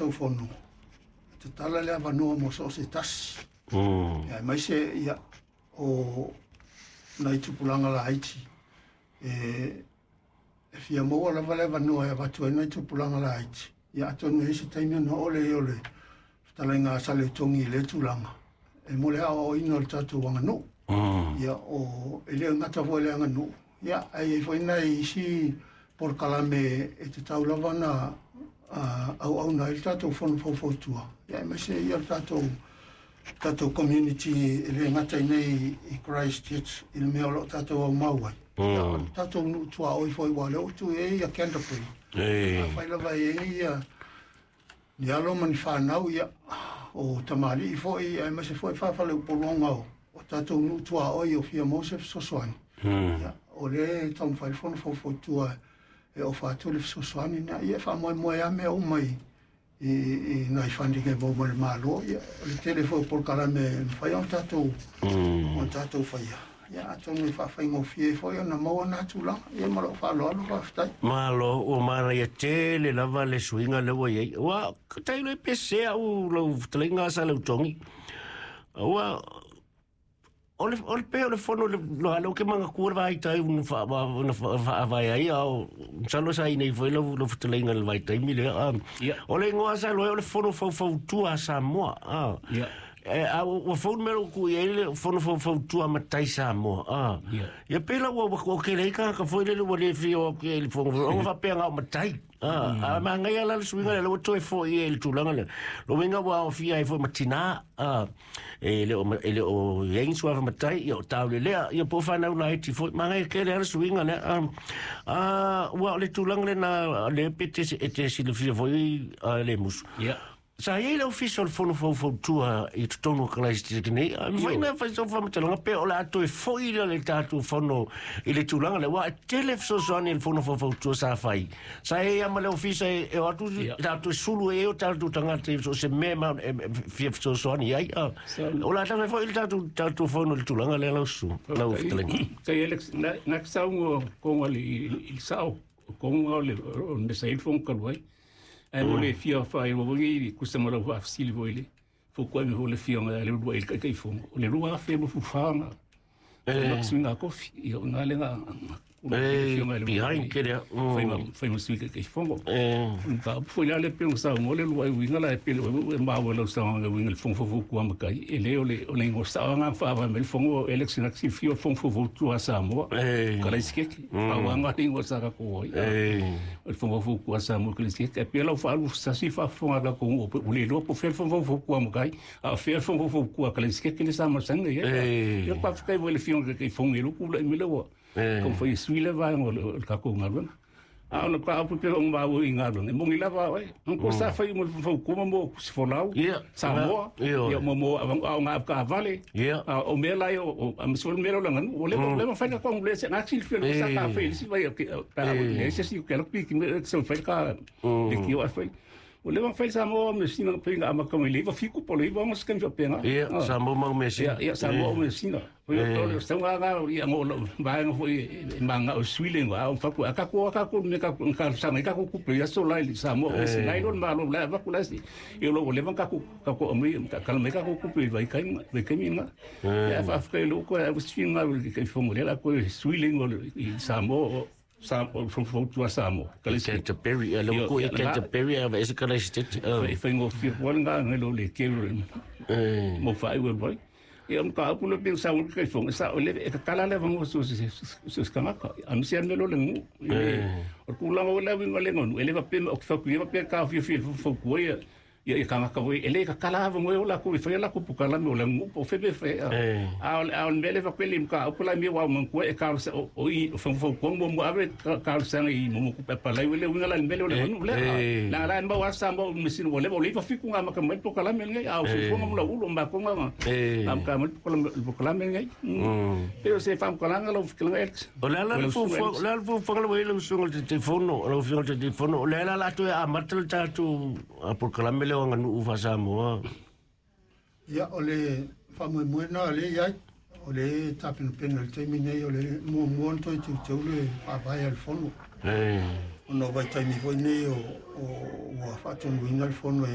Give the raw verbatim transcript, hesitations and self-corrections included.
tatou fono, e tatala le avanoa mo so o se tasi. Mm. Ia, aemaise ia o nai tupulaga laiti e e fia maua lava le avanoa e avatu ai nai tupulaga laiti. Ia atonu e i ai se taimi ona oo lea o le fetalaiga a Saleutogi i lea tulaga e mo le aoaoina o le tatou aganuu. Mm. Ia o e le gata foi i le aganuu, ia ae i ai foi nai isi polokalame e tatau lava ona auauna ai le tatou fono faufautua, ia aemaise ia le tatou tatou community e le gata i nei i Christchurch i le mea o lo o tatou aumau ai. Ia o le tatou nuu tuaoi foi ua o lea ua tuu i ai ia Canterbury. E. Afai lava e i ai ia ni alo ma ni fanau, ia o tamalii foi aemaise foi faafaleupoluga o o tatou nuu tuaoi o fia maua se fesoasoani. Ia o lea e taumafai le fono faufautua e ofa atu le fesoasoani lena. Ia e faamoemoe lava mea uma i i i nai funding e maua mai le Malo. Ia o le tele foi o polokalame e mafai ona tatou ona tatou faia. Ia atonu e faafaigofie ai foi ona maua na tulaga. Ia ma lou faaaloalo, faafetai. Malo, ua manaia tele lava le suiga lea ua i ai. Ua tailo e pese au lau fetalaiga a Saleutogi. Ua o le o le pe o le fono le lo lo ke manatua le vaitaimi na fa na faavae ai a o masalo sa i nei foi lau lau fetalaiga i le vaitaimi lea. A Ia. O le igoa sa iloa ai o le fono faufautua a Samoa. A Ia. E a ua fou le mea ua tuu i ai le fono faufautua a matai Samoa. A Ia. Ia pei la ua ua tele ai tagata foi lele ua le fia o atu i ai i le fono ona faapea na o matai. A a manaia la le suiga lea ua toe foi ai i le tulaga lea. Lona uiga ua aofia ai foi ma tinā. A e le o e le o i ai ni suafa matai, ia o taulelea, ia po o fanau laiti foi. Manaia tele lava le suiga lea. A a ua o le tulaga lena lea pe te e te silafia foi a le musu. Ia. Sa i ai le ofisa o le fono faufautua i totonu o Christchurch nei. A mafai Ioe. na fai sau faamatalaga pe o le a toe foi lea le tatou fono i le tulaga lea. Ua e tele fesoasoani i le fono faufautua sa fai. Sa i ai lava ma le ofisa e e o atu Ia. tatou sulu ai o tatou tagata i so o se mea ma e e fia fesoasoani ai. A Sa o le a tafe foi le tatou tatou fono i le tulaga lea lau susu, lau fetalaiga. Tai Alex, na na saunoa konga le i i le sao, konga o le o le mea sa i le fono talu ai. Ae mo le fia faailoa foi i kusa ma lau faafesili foi le fuafuaga mai foi le afioga ia Leuluai i le Taitaifono, o le lua afe luafu fa na E suiga kofi, ia o ina le na e afioga ia behind Leuluai kele. fai ma Mm. fai ma sui Taitaifono. E O le mataupu foi la lea pei ona saunoa le Luai uiga la e pei e maua i lau saunoaga e uiga i le fono faufautua matai, e le o le o le igoa sao lava na faavae mai le fono o Alex na silafia o le fono faufautua a Samoa e Kalaisikeke, pau lava le igoa sa tatou ai e o le fono faufautua a Samoa Kalaisikeke. Ae pei la ua faalu sasi faafofoga a tatou nuu ua le iloa po o fea le fono faufautua a matai a o fea le fono faufautua a Kalaisikeke lea sa masani ai. e Ia faafetai foi i le afioga i le Taitaifono i lou tulai mai lea ua e taumafai e sui le vaega o le o le tatou galuega. A o le mataupu pei ona maua i galuega, e moni lava oe. Ko sa fai mo le faufautua ma mo Sifolau, Ia, Samoa, ioe. ia mo mo a o ngā kaavale, Ia. a o mea la ia o a maso le mea la o le aganuu. O le o le mafai na kong le se ngā silafia le sa ka fai le si vai o ke pa o le se si o ke lo piki me se fai ka le ki o a fai. O le mafai Samoa me sina pe ngā amaka mai le iwa fiku po le iwa ngo se ka penga. Ia, Samoa ma Mesia. Ia, ia Samoa me sina. O Eh. o le sa ngā ngā ia ngo lo vaenga foi e manga o suile ngo a o faku a ka ko ka ko me ka ka sa me ka ko ku pe ia so lai Samoa o se lai lo ma lo la va ku la si. Ia lo le ka ku ka ko me ka ka me ka ko ku pe vai kai vai kai minga. Ia fa fa lo ko a si nga le kai fongo le la ko suile ngo i Samoa o sa o fo fo tua Samoa. Ka le si. Canterbury, a Ia, lo ko i ia, la- Canterbury a ese ka le state. Fai fai ngo fi ko nga ngai lo le ke lo Eh. mo fai we boy. Ia mo ka pu le pe sa o ke fo sa o le e ka kala le vango so so so so ka ka. A mi se me lo le ngu. O ku la o le wi le ngu ele va pe o fa ku va pe ka fi fi fo fo ku ia ia ia ka ka voi ele ka kala va ngo la ku fi la ku pu kala me o le ngu po fe pe fe. Eh. A o a o me le va pe lim ka o la mi wa mo ku e ka o o i fo fo ku mo mo ave ka sa i mo mo ku pe pa la le wi la me le le ngu le. Eh. La la ma wa sa mo me sin wo le o le va fi ku nga ma ka mai po kala me ngai a o fi mo la ulo ma ko nga Eh. am ka mai po kala po kala me ngai. Pero se fam kala nga lo fi kala ex. O le ala le fuafuaga, o le ala le fuafuaga le ua i lau susuga i le Taitaifono, lau Afioga i le Taitaifono, o le ala la toe amata le tatou a polokalame lea o aganuu faa-Samoa. Ia o le faamoemoe na le i ai o le tapenapena i le taimi nei o le muamua ona toe teuteu le faavae a le fono. E. Ona o vaitaimi foi nei o o ua faatonuina le fono e